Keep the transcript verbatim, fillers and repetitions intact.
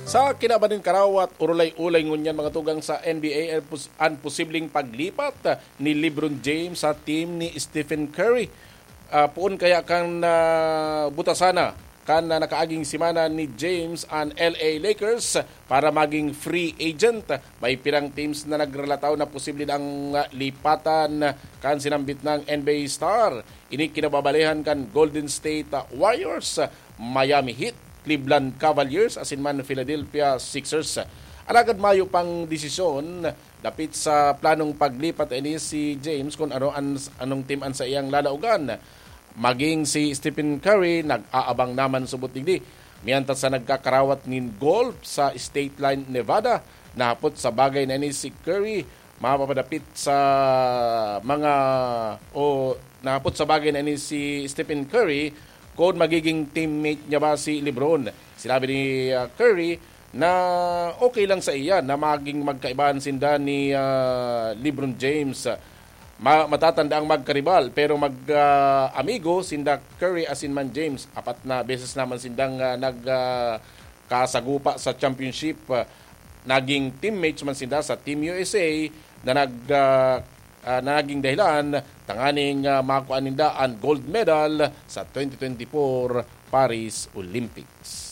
Sa kinaban nin karawat, urulay-ulay ngunyan mga tugang sa N B A ang pos-, ang posibleng paglipat ni LeBron James sa team ni Stephen Curry. Ah, poon kaya kan, ah, butasana kan, ah, nakaaging semana ni James an L A Lakers para maging free agent. May pirang teams na nagrelataw na posible ang, ah, lipatan kan sinambit ng N B A star. Ini kinababalehan kan Golden State, ah, Warriors, Miami Heat, Cleveland Cavaliers asin man Philadelphia Sixers. Alagad mayo pang desisyon dapit sa planong paglipat ini si James kun ano an, anong team an saiyang lalaogan. Maging si Stephen Curry nag-aabang naman subot digdi. Mientras sa nagkakarawat nin golf sa Stateline, Nevada, nahapot sa bagay na ini si Curry mapapadapit sa mga o nahapot sa bagay na ini si Stephen Curry kung magiging teammate niya ba si LeBron. Sinabi ni, ah, Curry na okay lang sa iya na maging magkaibahan sinda ni, ah, LeBron James. Ma-, matatanda ang magkaribal, pero mag, ah, amigo sinda Curry asin man James. Apat na beses naman sindang, ah, nag, ah, kasagupa sa championship. Ah, naging teammates man sinda sa Team U S A na nag, ah, ah, na naging dahilan tanganing, ah, makuha ninda an gold medal sa twenty twenty-four Paris Olympics.